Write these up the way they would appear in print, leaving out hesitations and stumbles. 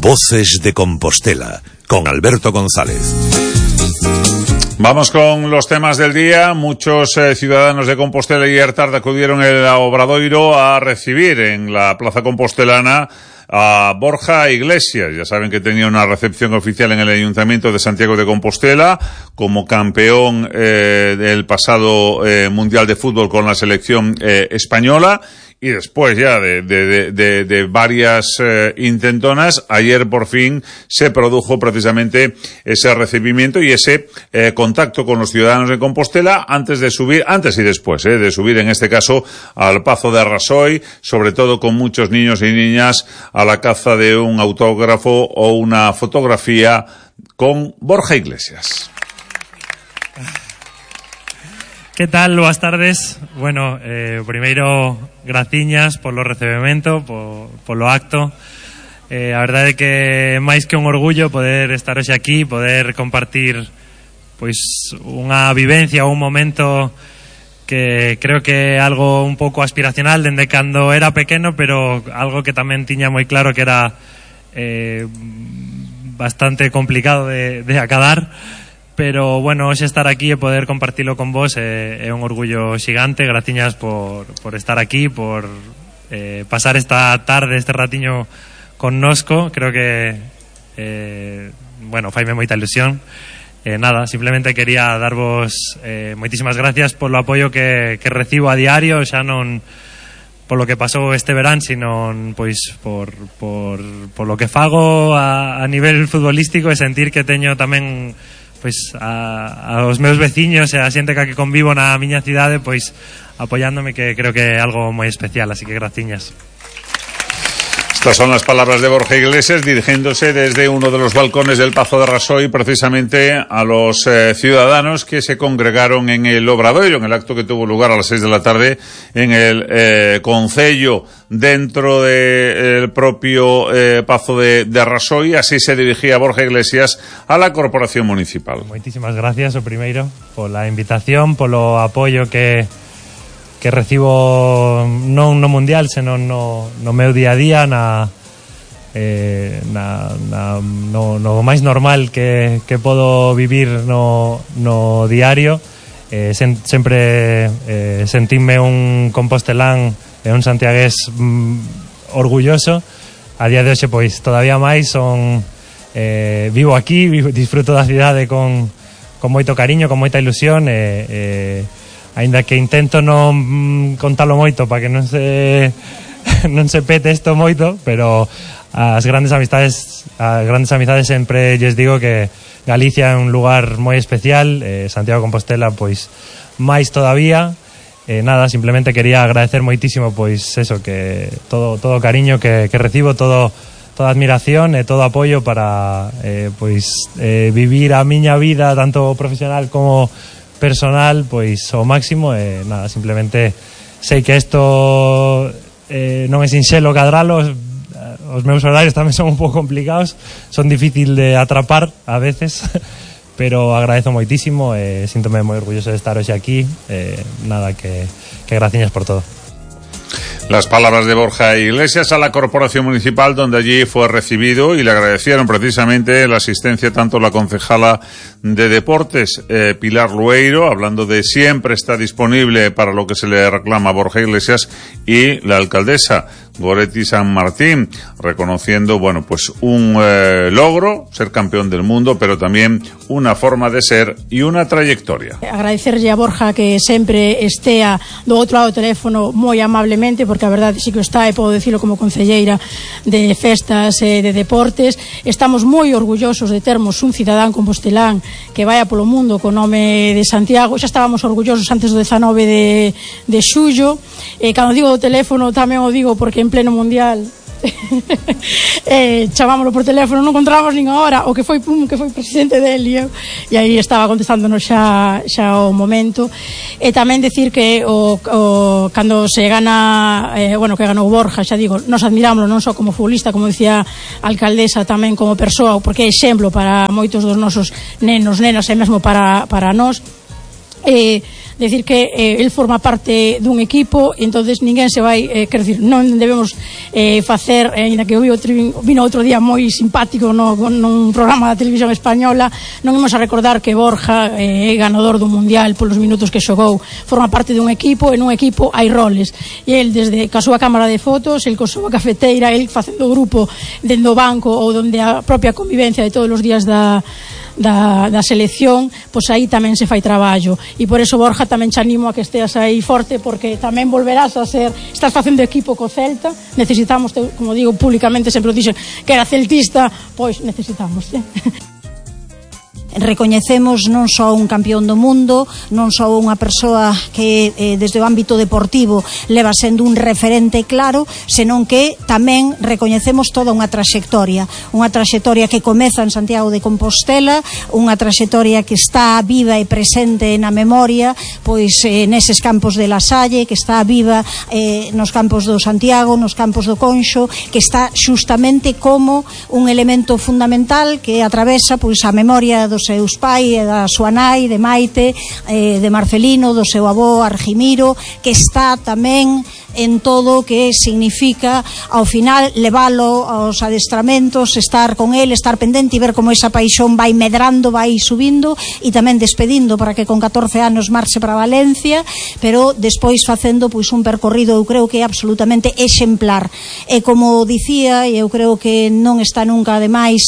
Voces de Compostela, con Alberto González. Vamos con los temas del día. Muchos ciudadanos de Compostela y ayer tarde acudieron a Obradoiro a recibir en la Plaza Compostelana a Borja Iglesias. Ya saben que tenía una recepción oficial en el Ayuntamiento de Santiago de Compostela como campeón del pasado Mundial de Fútbol con la selección española. Y después ya de varias intentonas, ayer por fin se produjo precisamente ese recibimiento y ese contacto con los ciudadanos de Compostela antes y después de subir en este caso al Pazo de Rasoy, sobre todo con muchos niños y niñas a la caza de un autógrafo o una fotografía con Borja Iglesias. Que tal? Boas tardes. Bueno, primeiro, graciñas polo recebemento, polo acto. A verdade é que máis que un orgullo poder estar hoxe aquí, poder compartir pois unha vivencia ou un momento que creo que é algo un pouco aspiracional dende cando era pequeno, pero algo que tamén tiña moi claro que era bastante complicado de acadar. Pero, bueno, hoxe estar aquí e poder compartilo con vos é un orgullo xigante. Graciñas por estar aquí, por pasar esta tarde, este ratiño connosco. Creo que, bueno, faime moita ilusión. Nada, simplemente quería darvos moitísimas gracias polo apoio que recibo a diario, xa non polo que pasou este verán, sino pois por lo que fago a nivel futbolístico e sentir que teño tamén pois aos meus veciños e a xente que convivo na miña cidade pois apoiándome, que creo que é algo moi especial, así que graciñas. Estas son las palabras de Borja Iglesias dirigiéndose desde uno de los balcones del Pazo de Rasoy precisamente a los ciudadanos que se congregaron en el Obradoiro, en el acto que tuvo lugar a las 6 de la tarde en el concello dentro del propio Pazo de Rasoy. Así se dirigía Borja Iglesias a la Corporación Municipal. Moitísimas gracias, o primeiro, pola invitación, polo apoio que recibo non no Mundial, senón no meu día a día, no máis normal que podo vivir no diario. Sempre sentime un compostelán e un santiagués orgulloso. A día de hoxe pois todavía máis vivo aquí, disfruto da cidade con moito cariño, con moita ilusión aínda que intento non contalo moito para que non se pete isto moito, pero as grandes amizades sempre lles digo que Galicia é un lugar moi especial, Santiago de Compostela pois máis todavía. Nada, simplemente quería agradecer moitísimo pois eso, que todo o cariño que recibo, toda admiración e todo apoio para vivir a miña vida tanto profesional como personal pois ao máximo. Nada, simplemente sei que isto non é sinxelo cadralo, os meus horarios tamén son un pouco complicados, son difícil de atrapar a veces, pero agradezo moitísimo e síntome moi orgulloso de estar hoxe aquí. Nada, que graciñas por todo. Las palabras de Borja Iglesias a la Corporación Municipal, donde allí fue recibido y le agradecieron precisamente la asistencia tanto la concejala de Deportes, Pilar Lueiro, hablando de siempre está disponible para lo que se le reclama a Borja Iglesias, y la alcaldesa Goretti San Martín, reconociendo, bueno, pues un logro, ser campeón del mundo, pero también una forma de ser y una trayectoria. Agradecerlle a Borja que sempre estea do outro lado do teléfono moi amablemente, porque a verdade sí que está, e podo dicilo como concelleira de festas e de deportes. Estamos moi orgullosos de termos un cidadán compostelán que vaya polo mundo co nome de Santiago. Xa estábamos orgullosos antes do 19 de xullo. Cando digo do teléfono tamén o digo porque en pleno mundial chamámoslo por teléfono, non encontramos nin a hora, o que foi presidente del e aí estaba contestándonos xa o momento. E tamén decir que cando se gana que ganou Borja, xa digo, nos admirámoslo non só como futbolista, como dicía a alcaldesa, tamén como persoa, porque é exemplo para moitos dos nosos nenos, nenas e mesmo para nós. decir que el forma parte dun equipo e entonces ninguén se vai, quer decir, non debemos facer, ainda que vino outro día moi simpático nun programa da televisión española, non imos a recordar que Borja é ganador do Mundial polos minutos que xogou, forma parte dun equipo e nun equipo hai roles, e el desde ca súa cámara de fotos, el co súa cafeteira, el facendo grupo dentro do banco ou donde a propia convivencia de todos os días da selección, pois aí tamén se fai traballo, e por eso Borja tamén te animo a que esteas aí forte, porque tamén volverás a ser, estás facendo equipo co Celta, necesitamos, como digo públicamente, sempre o dixen que era celtista, pois necesitamos, Recoñecemos non só un campeón do mundo, non só unha persoa que desde o ámbito deportivo leva sendo un referente claro, senón que tamén recoñecemos toda unha traxectoria que comeza en Santiago de Compostela, unha traxectoria que está viva e presente na memoria, pois neses campos de La Salle, que está viva nos campos do Santiago, nos campos do Conxo, que está xustamente como un elemento fundamental que atravesa pois a memoria dos seus pais e da súa nai, de Maite, de Marcelino, do seu avó Argimiro, que está tamén en todo o que significa ao final leválo aos adestramentos, estar con el, estar pendente e ver como esa paixón vai medrando, vai subindo e tamén despedindo para que con 14 anos marche para Valencia, pero despois facendo pois un percorrido, eu creo que é absolutamente exemplar. E como dicía, e eu creo que non está nunca de máis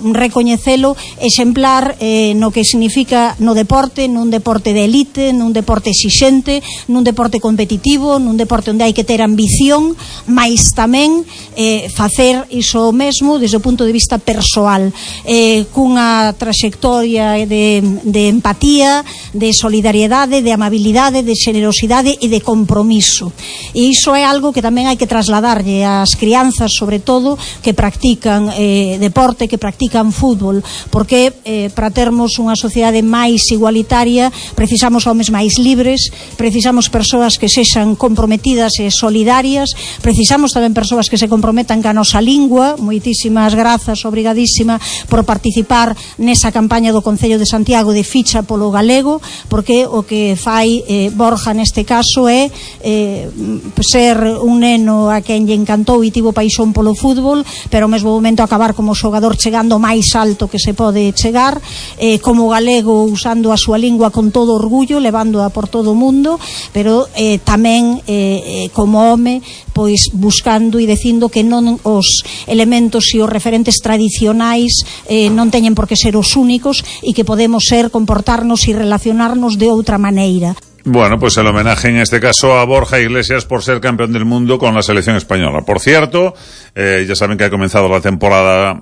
recoñecelo, exemplar no que significa no deporte, nun deporte de elite, nun deporte exixente, nun deporte competitivo, nun deporte onde hai que ter ambición, mais tamén facer iso mesmo desde o punto de vista persoal, cunha traxectoria de empatía, de solidariedade, de amabilidade, de xenerosidade e de compromiso. E iso é algo que tamén hai que trasladarlle ás crianzas, sobre todo, que practican deporte, que practican fútbol, porque para termos unha sociedade máis igualitaria precisamos homes máis libres, precisamos persoas que sexan comprometidas e solidarias, precisamos tamén persoas que se comprometan ca nosa lingua. Moitísimas grazas, obrigadísima por participar nesa campaña do Concello de Santiago de ficha polo galego, porque o que fai Borja neste caso é ser un neno a quen lle encantou e tivo paixón polo fútbol, pero ao mesmo momento acabar como xogador chegando máis alto que se pode chegar, como galego usando a súa lingua con todo orgullo, levándoa por todo o mundo, pero tamén como home pois buscando e dicindo que non os elementos e os referentes tradicionais non teñen por que ser os únicos e que podemos comportarnos e relacionarnos de outra maneira. Bueno, pues el homenaje en este caso a Borja Iglesias por ser campeón del mundo con la selección española. Por cierto, ya saben que ha comenzado la temporada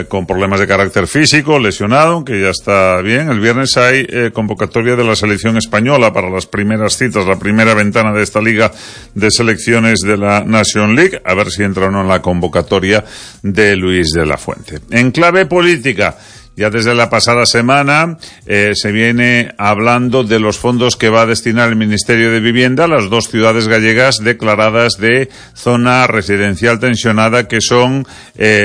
con problemas de carácter físico, lesionado, aunque ya está bien. El viernes hay convocatoria de la selección española para las primeras citas, la primera ventana de esta liga de selecciones de la Nation League, a ver si entra o no en la convocatoria de Luis de la Fuente. En clave política, ya desde la pasada semana se viene hablando de los fondos que va a destinar el Ministerio de Vivienda a las dos ciudades gallegas declaradas de zona residencial tensionada, que son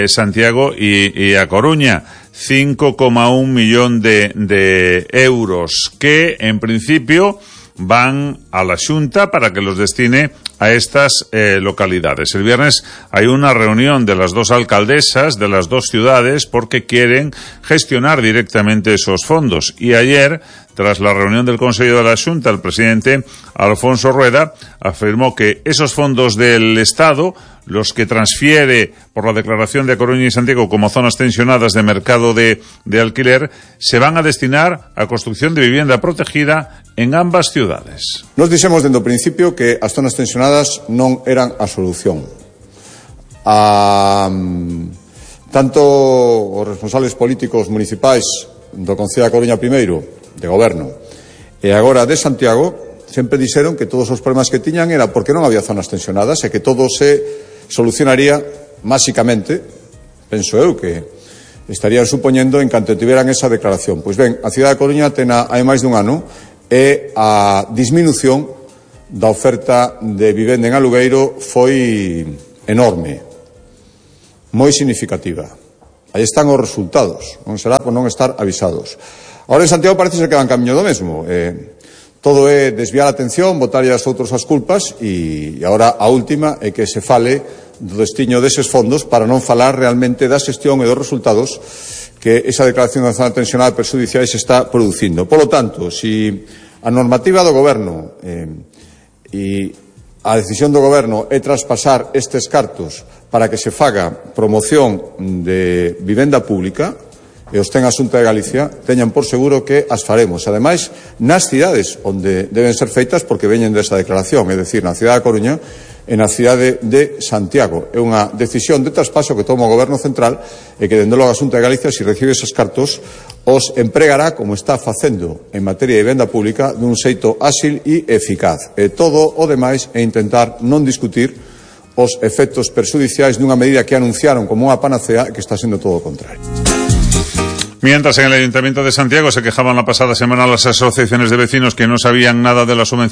Santiago y A Coruña. 5,1 millón de euros que en principio van a la Xunta para que los destine a estas localidades. El viernes hay una reunión de las dos alcaldesas de las dos ciudades porque quieren gestionar directamente esos fondos. Y ayer, tras la reunión del Consejo de la Xunta, el presidente Alfonso Rueda afirmó que esos fondos del Estado, los que transfiere por la declaración de Coruña y Santiago como zonas tensionadas de mercado de alquiler, se van a destinar a construcción de vivienda protegida en ambas ciudades. Nos dixemos dende o principio que as zonas tensionadas non eran a solución. Tanto os responsables políticos municipais do Concello da Coruña primeiro, de goberno, e agora de Santiago, sempre dixeron que todos os problemas que tiñan era porque non había zonas tensionadas e que todo se solucionaría máxicamente, penso eu, que estarían supoñendo en canto tiveran esa declaración. Pois ben, a cidade da Coruña ten hai máis dun ano e a disminución da oferta de vivenda en alugueiro foi enorme, moi significativa. Aí están os resultados, non será por non estar avisados. Ahora en Santiago parece ser que van camiño do mesmo. Todo é desviar a atención, botarlle as outros as culpas e agora a última é que se fale do destiño deses fondos para non falar realmente da xestión e dos resultados que esa declaración de zona tensional perxudiciais está producindo. Polo tanto, si a normativa do Goberno e a decisión do Goberno é traspasar estes cartos para que se faga promoción de vivenda pública, e os ten a Xunta de Galicia, teñan por seguro que as faremos. Ademais, nas cidades onde deben ser feitas porque veñen desa declaración, é dicir, na cidade da Coruña e na cidade de Santiago. É unha decisión de traspaso que toma o Goberno Central e que, dende logo, a Xunta de Galicia, se recibe esos cartos, os empregará, como está facendo en materia de vivenda pública, dun xeito áxil e eficaz. E todo o demais é intentar non discutir os efectos perxudiciais dunha medida que anunciaron como unha panacea que está sendo todo o contrario. Mientras en el Ayuntamiento de Santiago se quejaban la pasada semana las asociaciones de vecinos que no sabían nada de las subvenciones